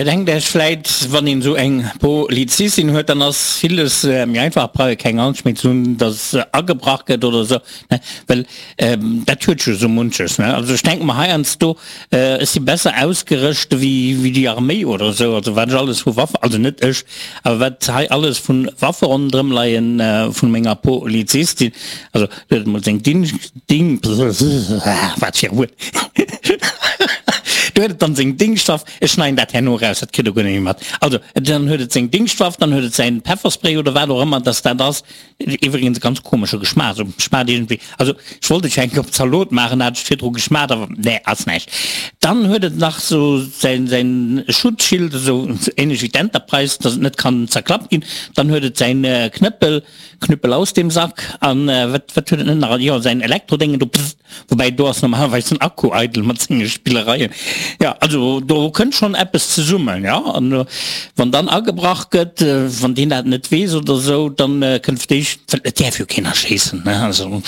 Dir denkt Iech vläit, wann een esou eng Polizistin huet, dann ass villes méi einfach, brauch ee keng Angscht méi ze hunn, dass agebrach gëtt oder esou, ne? Well dat huet jo esou munches, ne? Also ech denke mer heiansdo, ech si besser ausgerëscht wéi wéi déi Arméi oder esou, also wat ech alles vu Waffen, also net ech, awer wat hei alles vu Waffe ronderëm leien vun menger Polizistin, also huet emol seng Dingscht, Ding, wat fir e Wuert, do huet et dann seng Dingschtwaff, ech schneiden dat herno eraus, dat kritt der guer net méi mat, also dann huet et seng Dingschtwaff, dann huet et säin Pefferspray oder wat och ëmmer dass dat ass, iwwregens e ganz komesche Geschmaach, esou schmaacht iergendwéi, also ech wollt et jo eng Kéier op Zalot maachen, hat ech virdru geschmaacht, awer nee, ass näischt. Dann huet et nach esou säin säin Schutzschild, esou ähnlech wéi d'Enterprise, dass et net kann zerklappt ginn, dann huet et säin Knëppel, Knüppel aus dem Sack an wat wat huet et net nach jo säin Elektrodéngen do pfft, woubäi do ass normalerweis den Akku eidel mat senge Spillereien. Jo also do kënnt schonn eppes zesummen jo an wann dann agebrach gëtt, wann deen dat net weess oder sou, dann kënnt fir d'éischt, well et däerf jo keen erschéissen ne, also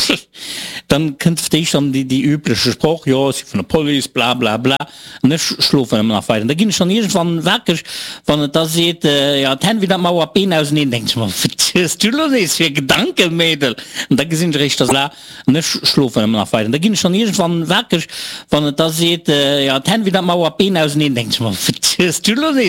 dann kënnt fir d'éischt dann déi déi übleche Sproch, jo ech si vun der Police blablabla. An ech schlofen ëmmer nach weider. An da ginn ech dann iergendwann wakereg, wann et da seet, jo, d'Hänn wéi der Mauer, d'Been auseneen. Denken ech mer, Wat hues du elo nees fir Gedanken, Mädel? An da gesinn ech eréischt, dass. An ech schlofen ëmmer nach weider. An da ginn ech dann iergendwann wakereg, wann et da seet, jo, d'Hänn wéi der Mauer, d'Been auseneen. Denken ech mer, Wat hues du elo nees?